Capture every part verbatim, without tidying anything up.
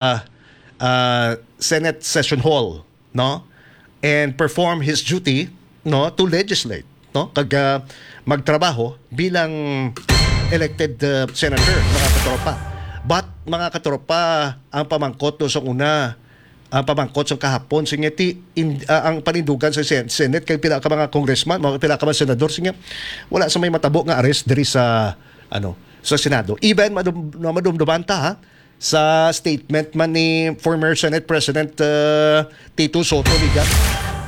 uh, uh, Senate Session Hall, no? And perform his duty, no, to legislate, no? Kag, uh, magtrabaho bilang elected, uh, senator, mga katropa. But, mga katropa, ang pamangkot do sa una, ang pamangkot sa kahapon, sige, ti, in, uh, ang panindugan sa Sen-, Senate kay pila ka mga congressman, mga pila ka mga senador, sige, wala sa may matabo nga arrest diri sa, ano, sa Senado. Even madum-, madumduman ta, ha, sa statement man ni former Senate President, uh, Tito Soto Liga.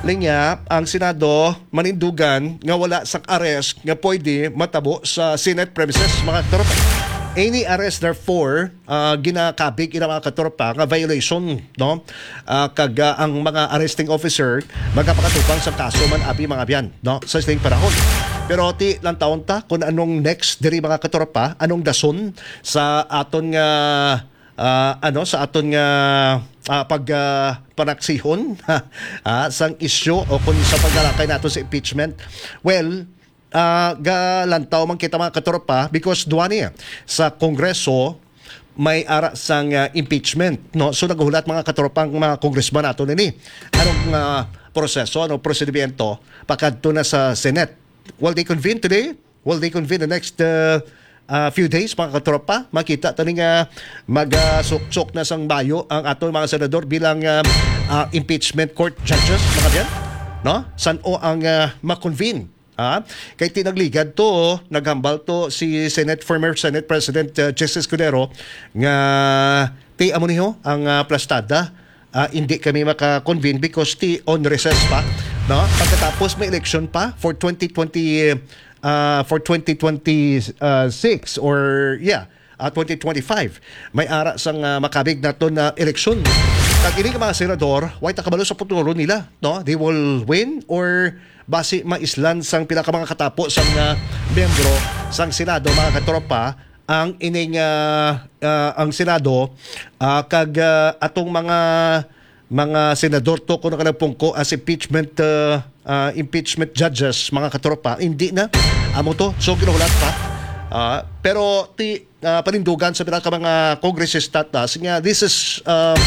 Linya, ang Senado manindugan nga wala sang arrest nga pwede matabo sa Senate premises, mga katropa. Any arrest, therefore, uh, ginakabig ina, mga katropa, nga violation, no? Uh, kag, uh, ang mga arresting officer magapakatubang sa kaso man abi, mga abyan, no? Sa sining panahon. Pero ti lang taon ta kung anong next diri, mga katropa, anong dason sa aton nga, ah, ano, sa aton nga, ah, pag, ah, panaksihon, ah, sang isyu o kung sa paglalakay nato sa impeachment. Well, ah, galantaw man kita, mga katropa, because duwa ni sa Kongreso may ara sang, ah, impeachment, no? So naghulat, mga katropa, ang mga congressman nato nini. Anong, ah, proseso, anong prosedimento pakadto na sa Senate? Will they convene today? Will they convene the next, uh, uh, few days, mga katropa? Makita tani nga mag, uh, suksok na sang bayo ang aton mga senador bilang, uh, uh, impeachment court judges, mga abyan, no? San-o ang, uh, ma-convene? Ah, kay ti nagligad to, naghambal to si Senate, former Senate President, uh, Chis Escudero, nga ti amo niho ang, uh, plastada, ah, hindi kami maka-convene because ti on recess pa, no? Pagkatapos may election pa for twenty twenty, ah, for twenty twenty-six or, yeah, ah, twenty twenty-five. May ara sang, ah, makabig nato na eleksyon. Kag ini nga mga senador, way ta kabalo sa futuro nila, no? They will win or basi maislan sang pila ka mga katapo sang, ah, miyembro sang Senado, mga katropa, ang ining, ah, ah, ang Senado, ah, kag, ah, atong mga, mga senador to, kung nakalapungko as impeachment, ah, ah, impeachment judges, mga katropa, hindi na. Amo to, so ginulat pa. Ah, pero ti, ah, panindugan sa pila ka mga kongresista ta, sige nga, this is, ah,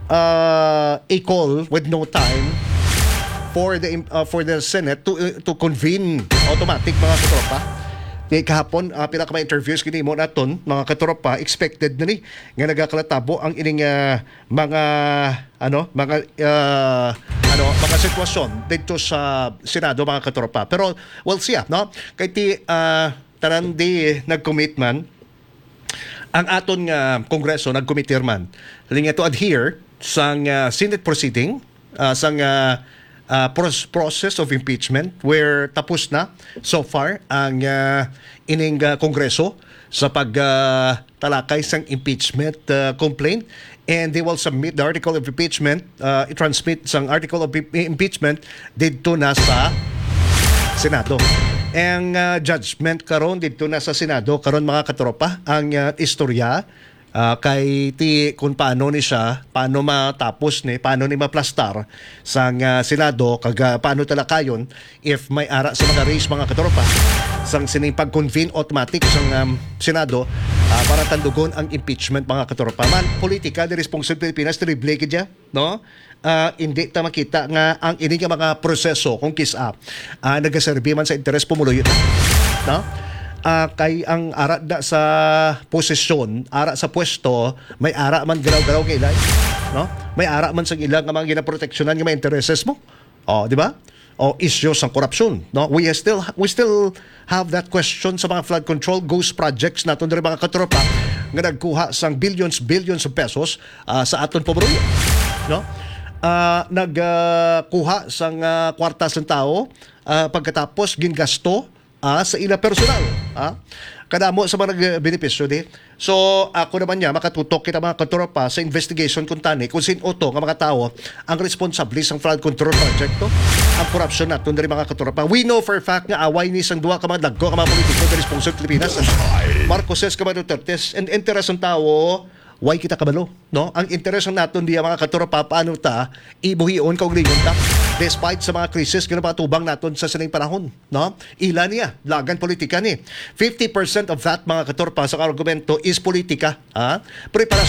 ah, a call with no time for the im-, ah, for the Senate to, uh, to convene automatic, mga katropa. Di kahapon, ah, pila ka mga interviews ginimo naton, mga katropa, expected na ni nga nagakalatabo ang ining, ah, mga, ano, mga, ah, ano, mga sitwasyon dito sa Senado, mga katropa. Pero we'll see, ah, no? Kay ti, ah, tanan di nag-commit man ang aton nga Kongreso, nag-committee man, linga to adhere sang, ah, Senate proceeding, ah, sang, ah, ah, pros-, process of impeachment, where tapos na so far ang, ah, ining, ah, Kongreso sa pag, ah, talakay sang impeachment, ah, complaint, and they will submit the article of impeachment, ah, i-transmit sang article of im-, impeachment didto na sa Senado. Ang, ah, judgment karon didto na sa Senado karon, mga katropa, ang, ah, istorya, ah, kay ti kung paano ni siya, paano matapos ni, paano ni maplastar sang, ah, Senado, kag, ah, paano talakayon if may ara sa mga race, mga katropa, sang sining pag-convene automatic sang, um, Senado, ah, para tandugon ang impeachment, mga katropa. Man, politika di responsive Pilipinas, terrible gid ya, no? Ah, hindi ta makita nga ang ini nga mga proseso kung kis-a, ah, nagaserbi man sa interes pumuluyo ta, no? Ah, kay ang ara da sa posisyon, ara sa pwesto, may ara man galaw-galaw kay ilay, no? May ara man sang ila nga mga ginaproteksyonan nga mga intereses mo. Oh, di ba? O isyu sang korupsyon, no? We still, we still have that question sa mga flood control, ghost projects naton diri, mga katropa, nga nagkuha sang billions, billions of pesos, ah, sa aton pumuluyo, no? Ah, nag, ah, kuha sang, ah, kwarta sang tawo, ah, pagkatapos gingasto, ah, sa ila personal, ah. Kadamo sa mga nagbenepisyo di. So, ako naman niya, makatutok kita, mga katropa, sa investigation kung tani, kung sin-o to nga mga tawo ang responsable sang flood control project to, ang korupsyon naton diri, mga katropa. We know for a fact nga away ni sang duha ka mga dagko ka mga politiko diri sa pungsod Pilipinas, Marcoses ka, mga Dutertes, and interes ng tawo, way kita kabalo, no? Ang interes naton diya, mga katropa, paano ta ibuhion, kaugalingon ta. despite sa mga krisis nga napatubang naton sa sining panahon, no? Ila niya, lagan politika ni. Fifty percent of that, mga katropa, sa argumento is politika, ha? Pero para